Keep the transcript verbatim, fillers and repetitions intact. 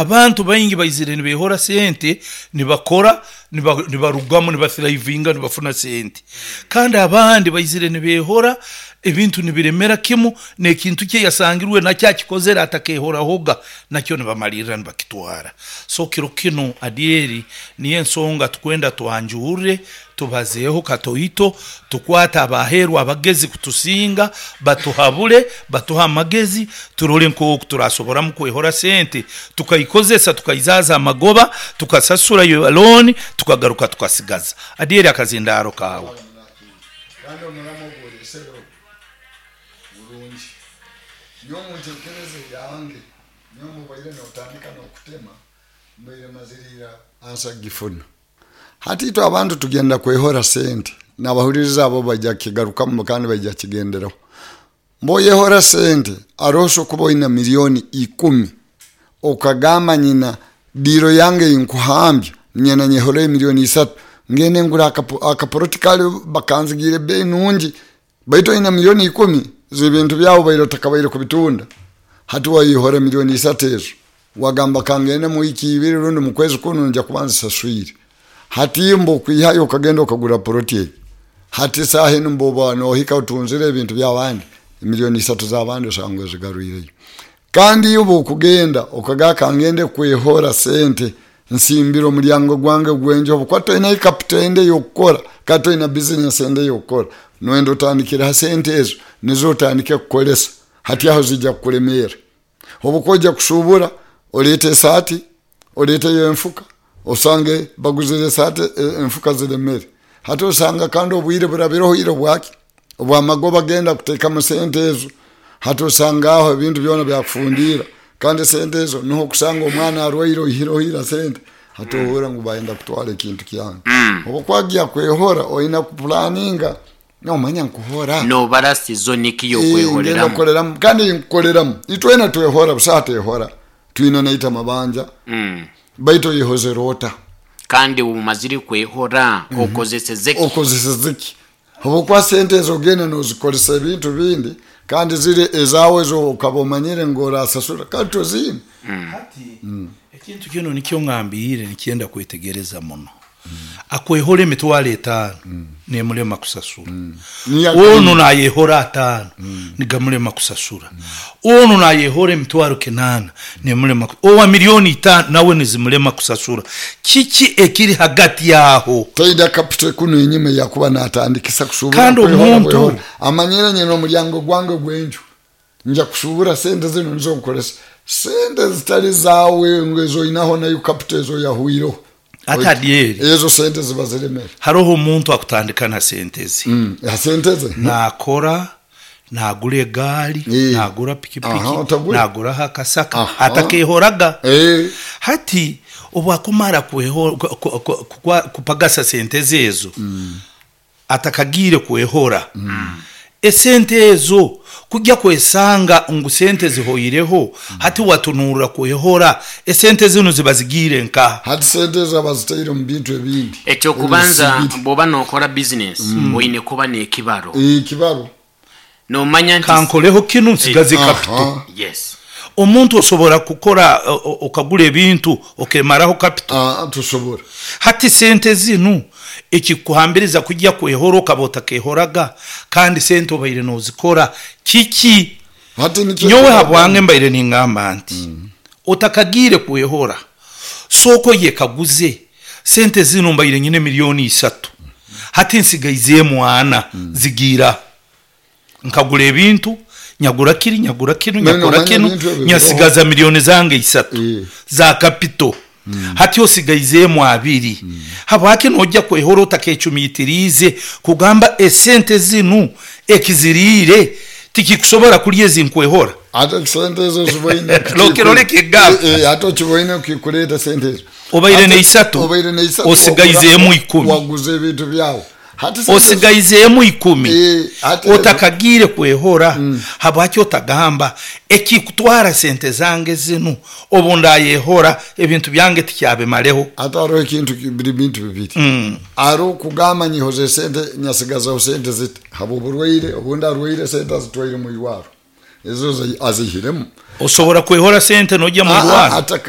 Abantu baingi baizire nibehora sente, nibakora, niba- nibarugamu, nibathrivinga, nibafuna sente. Kandi abandi baizire nibehora, ebintu nibiremera kimu, n'ekintu kye yasangirwe nakyo akikozere atakehorahoga, nakyo nibamalirra nibakitwara. So kiro kinu Adyeri niyo ensonga tukwenda twanjurre, tubazeeho katoito, tukwate abaheerwa abagezi kutusinga, batuhabule, batuhe amagezi, turole nk'oku turasoboramu kwehora sente, tukaikozesa, tukaizaaza amagoba, tukasasura yo loan, tukagaruka tukasigaza. Adyeri, akazindaaro kaawe. Kandi omuramo gwolesereho burungi. Nyowe muntekereze yange, nyowe mubaire notandika nokutema, mbaire maziriira ansa gifuna. Hati itwe abantu tugenda kwehora sente, nabahuliriza abo bajja kigarukamu kandi bajja kigenderaho. Mboyehora sente, aroso kuba oyina miliyoni ikumi, okagamba nyina diro yange inkuhambya, nyena nyehora miliyoni isatu, ngende ngura akapo- akaporoti kali bakanzigire bei nungi. Baitu oyina miliyoni ikumi zibintu byawo baire otakabaire kubitunda. Hati wayihora miliyoni isatu ezo, wagamba kangende mu wiki ibiri rundi mu kwezi kuno nja kuba nzisaswire. Hati mbo okwihayo okagenda okagura poroti egi, hati saaha enu mboba nohika otunzire ebintu byabandi, miliyoni isatu z'abandi osanga ozigarwireyo. Kandi iyo okugenda okagaa kangende kwehora sente, nsimbire omulyango gwange gwenjo, obukuba toyina capital ende ey'okukora, kandi toyina business ende ey'okukora, noyenda otandikire ha sente ezo, nizo otandike kukolesa. Hati aho zijja kukulemeera. Obukuba ojja kushubura, oleete esaati, oleeteyo enfuka, osange baguzire esaati, e- enfuka ziremere. Hati osanga kandi obwire burabireho ira bwaki obwamagoba genda kuteekamu sente ezo. Hati osanga aho ebintu byona byakufundiira, kandi sente ezo niho okusanga omwana arwaire, oihireho ira sente. Hati ohurra ngu bayenda kutwara ekintu kyange. Obukwagya kwehora, oyina kupulaninga, nomanya nkuhora nobara sizoni ki Eh, ngenda yokwehoreramu. kukoleramu kandi nkukoleramu. Itwena twehora busaha tehora, twina naita mabanja. Mm. Baitu oyehozere ota? Kandi umazire kwehora, okozeseze ki? Okozeseze ki? Obukuba sente ezo ogenda nozikozesa ebintu bindi, kandi ziri ezawe ezo okaba omanyire ngu orasasura, kandi toziine. Hati ekintu kino nikyo ngambire, nikyenda kwetegereza muno. Akwehora emitwaro etaano, nemulema kusasura. Niyo. Ono nayehora ataano, nigamulema kusasura. Ono nayehora emitwaro kinana, nemulema. Owa miliyoni itaano nawe nizimulema kusasura. Kiki ekiri hagati yaho? Taida capital kuno enyuma yakuba natandikisa kushubura. Kandi kwehora, omuntu- kwehora. Amanyire nyina omulyango gwange gwenju nja kushubura, sente zino nizo nkolesa. Sente zitali zawe ngo ezo oyinaho nayo capital ezo yahwireho. Ate Adyeri, ezo sente ziba ziremere. Haroho omuntu akutandika na sente ze. Mm, ya sente ze. Nakora, nagura egaari, Eh. nagura Aha, pikipiki, otagura. naguraho akasaka. Aha. Atakehoraga. Eh, Hati obwakumara kweho- ku- ku- ku- kukwa- kupagasa sente zezo, atakagiire kwehora esente ezo, kujya kwesanga ngu sente zihoireho. Hati watunurra kwehora, esente zino ziba zigiire nkaha? Hati sente ezo abazitaire mu bintu ebindi. Ekyokubanza, Ebisibiri. bwoba nokora bizinesi, oyine kuba n'ekibaro. Eh, kibaro. Nomanya nti Kankoleho kinu, nsigaze Aha. capital. Yes. Omuntu osobora kukora, o- o- okagura ebintu, okemaraho capital? Ah, tusobora. Hati sente zinu ekikuhambiriza kujya kwehora, okaba otakehoraga, kandi sente obaire nozikora, kiki? Hati nikyo. Nyowe habwange mbaire ningamba nti otakagiire kwehora, sooko yekaguze, sente zino mbaire nyine miliyoni isatu, hati nsigaizeemu ana, zigiira nkagura ebintu, nyagura kiri, nyagura kinu, None nyakora omanya kinu, ebintu ebyo. nyasigaza miliyoni zange isatu Eh. za capital. Hati osigaizeemu abiri. Habwaki nojja kwehora otakecumitiriize kugamba esente zinu ekiziriire tikikusobora kulya ezinkwehora? Ate sente ezo ziboine. Lokero leka egamba. Eh, eh, ate okiboine okikuleeta sente ezo. Obaire Ate- neisatu, obaire neisatu, osigaizeemu wagura- ikumi. Waguza ebintu byawe. Hati sente ezo- Osigaizeemu ikumi. Eh, ate ezo- Otakagiire kwehora, habwaki otagamba ekikutwara sente zange zinu, obu ndayehora ebintu byange tikyabimaleho? Ate hariho ekintu ki- biri bintu bibiri. Mm. Ari okugamba nyihoze sente, nyasigazaho sente ziti haba oburwaire, obundi arwaire, sente azitwaire mu irwaro, ezo zi- azihiremu. Osobora kwehora sente nojya mu Ah, ah, irwaro? ataka